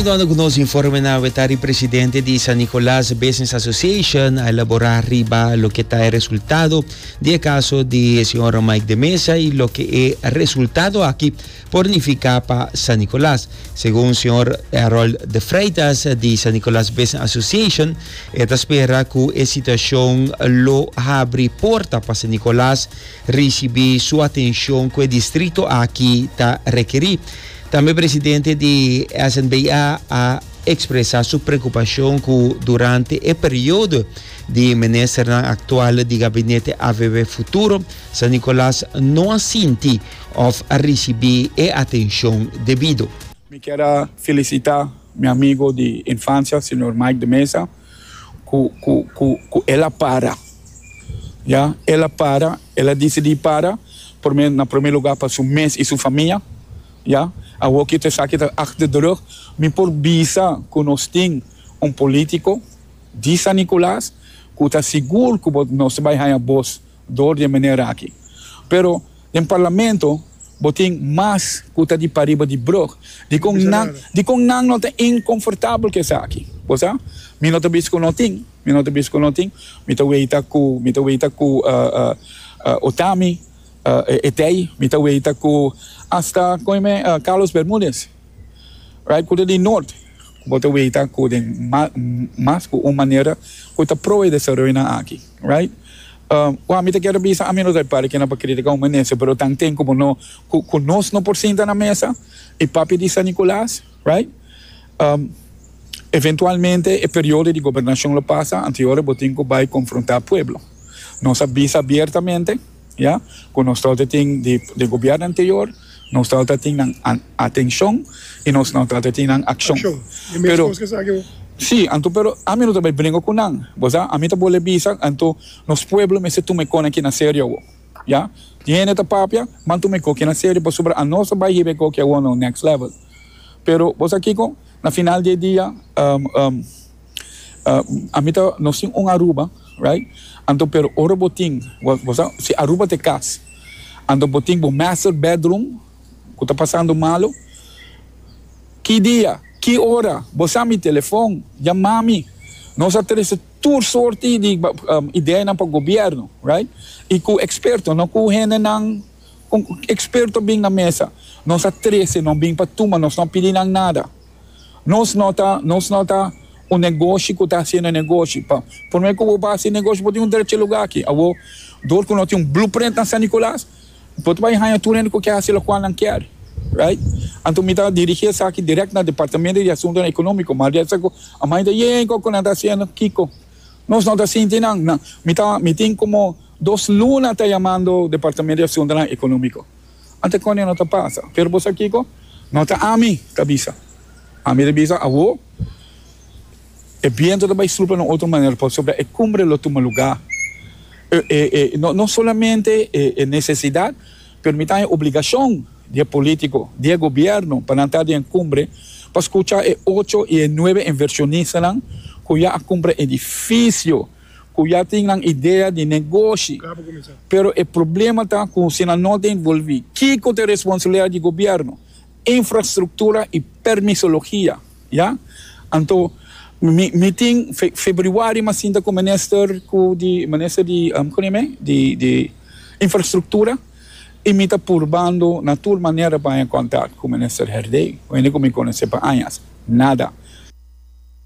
Continuando cu nos informe na Wetari presidente di San Nicolas Business Association a elabora riba loke ta e resultado di e caso di señor Mike de Meza y loke e resultado aki por nifica pa San Nicolas. Segun señor Harold de Freitas di San Nicolas Business Association e ta spera cu e situacion lo habri porta pa San Nicolas ricibi su atencion cu e distrito aki ta rekeri. Tambe presidente di SNBA a expresa su preocupacion cu durante e periodo di ministernan actual di gabinete AVB Futuro, San Nicolas no a sinti of a ricibi e atencion debido. Mi kier a felicita mi amigo di infancia, señor Mike de Meza, cu cu cu cu el a para. Ya, el a para, el a dicidi para, prome na prome lugar pa su mes y su famia, ya. Awor ki esaki ta achter de rug, mi por bisa cu nos tin un politico di San Nicolas cu ta sigur cu bo nos ta bay haya bos door di e manera aki. Pero den parlamento bo tin mas cu ta di pariba di brug. Dicon nan, dicon nan no ta inconfortabel cu esaki? Bo sa? Mi no ta bisa cu no tin. Mi no ta bisa cu no tin. Mi ta weita cu, mi ta weita cu Otami, Etey, mi ta weita cu hasta, con e Carlos Bermudez, right, cu ta di Noord. Bo ta weita cu den mas cu un manera cu ta pro e desaroyonan aki, right. Wak, mi ta kere bisa, ami no ta para kina pa critica un minister, pero tan ten como no, cu nos no por sinta na mesa y papia di San Nicolas, right. Eventualmente e periodo di gobernacion lo pasa, anto e ora bo tin cu bay confronta pueblo. Nos a bisa abiertamente, ya, cu nos tabata tin di di gobierno anterior, nos tabata tin nan atencion y nos no tabata tin nan accion. Pero, si, anto pero ami no ta bay bringa cu nan, bo sa, ami ta bole bisa, anto nos pueblo mester tuma e con aki na serio awo, ya. Tin hende ta papia, man tuma e coki na serio pasobra anos a bay hiba e coki awo na un next level. Pero bo sa kiko? Na final di e dia, ami ta, nos tin un Aruba, right? Anto pero ora bo tin, bo sa, si Aruba ta e kas, anto bo tin bo master bedroom ku ta pasando malo, ki dia, ki ora, bo sa mi telefon, yama mi. Nos a trese tur sorti di ideanan pa gobierno, right? I ku eksperto, no ku hendenan. Un experto bin na mesa. Nos a trece, no bin pa tuma, nos no a pidi nan nada. Nos no ta, nos no ta un negoshi cu ta haciendo negoshi. Pa prome cu bo pa haci negoshi bo tin un drecha lugar aki. Awor, door cu no tin un blueprint na San Nicolas, bo ta bay haya tur hende cu kier haci locual nan kier. Right? Anto mi ta dirigi esaki direct na Departamento di Asuntonan Economico. Ma di cu a manda yen cu nan ta haciendo kico. Nos no ta sinti nan. Nan, mi ta, mi tin como. Dos luna ta yamando Departamento di Asuntonan Economico. Ante con no ta pasa. Pero bo sa kico? No ta ami ta bisa. Ami ta bisa awo e biento ta bay supla na otro manera pasobra e cumbre lo tuma lugar. No solamente e necesidad pero mi ta e obligacion di e politico, di e gobierno pa nan ta den e cumbre pa scucha e ocho y e nuebe inversionistanan cu ya a cumpra edificio. Ku ya tin nan idea di negoshi. Pero e problema ta ku si nan no ta envolvi, kiko ta e responsabilidad di gobierno? Infrastructura y permisologia, ya. Anto mi mi tin februari mi a sinta ku minister ku di minister di kon yama di di infrastructura y mi ta purbando na tur manera pa haña contact ku minister Herdé, hende ku mi konosé pa añas. Nada.